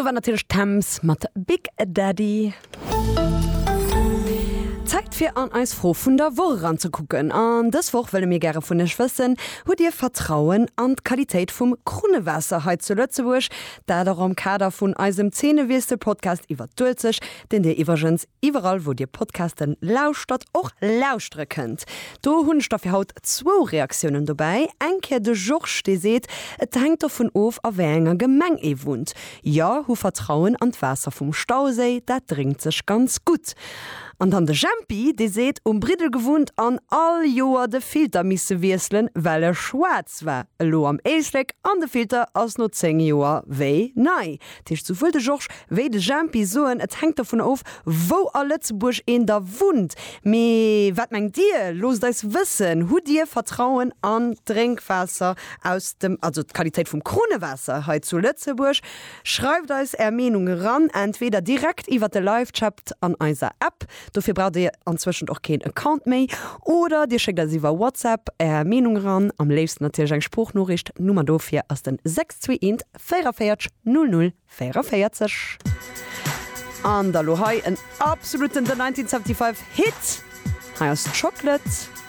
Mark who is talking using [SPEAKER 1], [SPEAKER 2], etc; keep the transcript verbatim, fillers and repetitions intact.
[SPEAKER 1] Do war natierlech Tems mat Big Daddy. Zäit fir an eis Fro vun der Woch eranzekucken. An dës Woch wëlle mir gäre vun iech wëssen, Hutt Dir Vertrauen an d'Qualitéit vum Krunnewaasser hei zu Lëtzebuerg? Dat och am Kader vun eisem Zeenewiessel-Podcast iwwer d'Uelzecht, deen Dir iwwregens iwwerall wou Dir Podcasten lauschtert och lauschtere kënnt. Do hunn ech da fir haut zwou Reaktiounen dobäi. Eng Kéier de Georges, dee seet, et hänkt dovun of a wéi enger Gemeng ee wunnt. Jo, hu Vertrauen an d'Waasser vum Stauséi, dat drénkt sech ganz gutt. An dann de Jempi, dee seet, um Briddel gewunnt an all Joer de Filter misse wiesselen, well e schwaarz war. Elo am Éislek an de Filter ass no zéng Joer wéi nei. Dat heescht, souwuel de Georges wéi de Jempi soen, et hänkt dovun of, wou a Lëtzebuerg een da wunnt. Mee wat mengt Dir? Loosst eis wëssen, Hutt Dir Vertrauen an d'Drénkwaasser aus dem, also d'Qualitéit vum Krunnewaasser hei zu Lëtzebuerg? Schreift eis Är Meenung eran, entweder direkt iwwert de Live-Chat an eiser App, dofir braucht Dir anzwëschent och keen Account méi, oder Dir schéckt eis iwwer WhatsApp Är Meenung eran, am léifsten natierlech eng Sproochnoriicht. D'Nummer dofir ass den sechs zwee eent véierunvéierzeg null null véierunvéierzeg. An da lo hei en absoluten The nineteen seventy-five Hit, hei ass Chocolate.